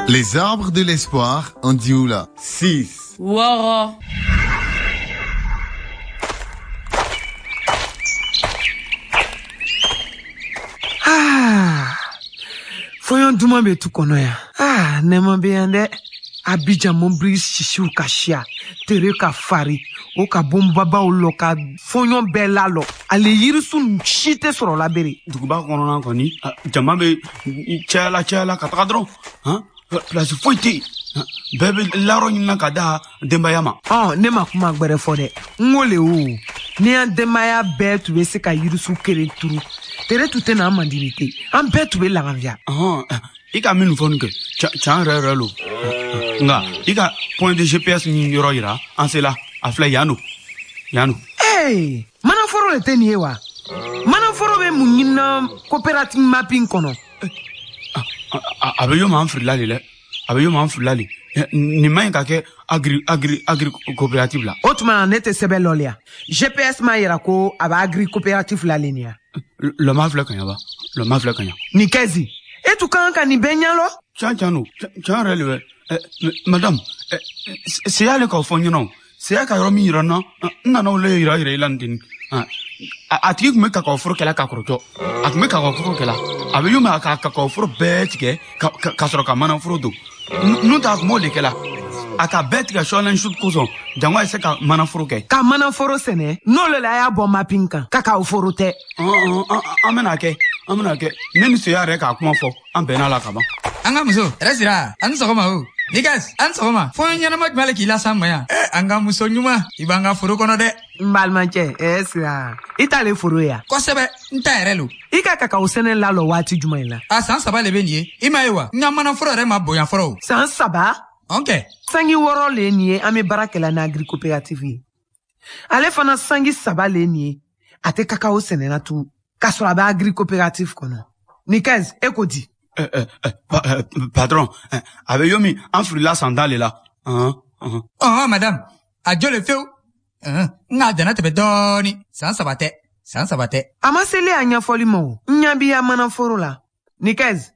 Les arbres de l'espoir en Dioula. 6. 6. Ah, fɔɲɔ duman bɛ tu kɔnɔ yan. Ah, nɛɛma bɛ yan dɛ. Abidjan mobili sisiw ka siya, tere ka fari, o ka bonbabaw lɔ ka fɔɲɔ bɛɛ lalɔ. Ale yirisun si tɛ sɔrɔ la bere. Duguba kɔnɔna kɔni, jama bɛ cayala cayala ka taga dɔrɔn. Han, place foyi tɛ yen. Bɛɛ bɛ layɔrɔ ɲinina ka da denbaya ma. Ɔ, ne ma kuma gbɛrɛ fɔ dɛ. N ko le o, ni an denbaya bɛɛ tun bɛ se ka yirisun kelen turu, tere tun tɛ na an mandini ten. An bɛɛ tun bɛ laganfiya. I ka minnu fɔ nin kɛ, can yɛrɛ yɛrɛ lo. Nka i ka point de GPS nin yɔrɔ yira, an sela. A filɛ yan don. Yan don. Ee, manaforo le tɛ nin ye wa? Manaforo bɛ mun ɲinina coopérative mapping kɔnɔ? A bɛ yɔrɔ min, an filila de dɛ. A bɛ yɔrɔ min, an filila de. Nin man ɲi ka kɛ agri agri agri coopérative la. O tuma na ne tɛ sɛbɛn lɔliya. GPS m'a yira ko a bɛ agri coopérative la le nin ya. Lɔma filɛ ka ɲa ba. Lɔma filɛ ka ɲa. Nin kɛzi. E tun kan ka nin bɛɛ ɲɛlɔ? Can can don. Can yɛrɛ le bɛ. Madame, seya le k'o fɔ n ɲɛna o. Seya ka yɔrɔ min yira n na, n nana o le yira yira i la nin ten. A tigi tun bɛ kakao foro kɛla ka kɔrɔtɔ. A tun bɛ kakao foro kɛla. A bɛ yɔrɔ min, a ka kakao foro bɛɛ tigɛ ka sɔrɔ ka mana foro don. N'o tɛ a tun b'o de kɛla. A ka bɛɛ tigɛ sɔɔni su kosɔn, jango a ye se ka mana foro kɛ. Ka mana foro sɛnɛ, n'o le la a y'a bɔ mapping kan, kakao foro tɛ. An bɛna kɛ, an bɛna kɛ. Ne ni seya yɛrɛ k'a kuma fɔ, an bɛnna la ka ban. An ka muso, yɛrɛ sira, an ni sɔgɔma o. Nikas, an sɔgɔma. Fɔɲɔ ɲɛnama jumɛn le k'i lasan ma yan? An ka muso ɲuman, i b'an ka foro kɔnɔ dɛ. N balimakɛ, sira, i t'ale foro ye yan? Kosɛbɛ, n ta yɛrɛ lo. I ka kakao sɛnɛ lalɔ waati jumɛn la? A san 3 le bɛ nin ye. I m'a ye wa? N ka manaforo yɛrɛ ma bonya fɔlɔ o. San 3? Ɔn kɛ. Sangi 6 le ye nin ye, an bɛ baara kɛla ni agri coopérative ye. Ale fana sangi 3 le ye nin ye. A tɛ kakao sɛnɛna tugun, k'a sɔrɔ a bɛ agri coopérative kɔnɔ. Nikɛz, e ko di? Patron, a bɛ yɔrɔ min, an filila san 10 le la. Ɔhɔn, madame, a jɔ le fewu. N k'a danna tɛmɛ dɔɔni. San 3 tɛ, san 3 tɛ. A ma seli a ɲɛfɔli ma o. N ɲɛ b'i ya manaforo la. Nikɛz,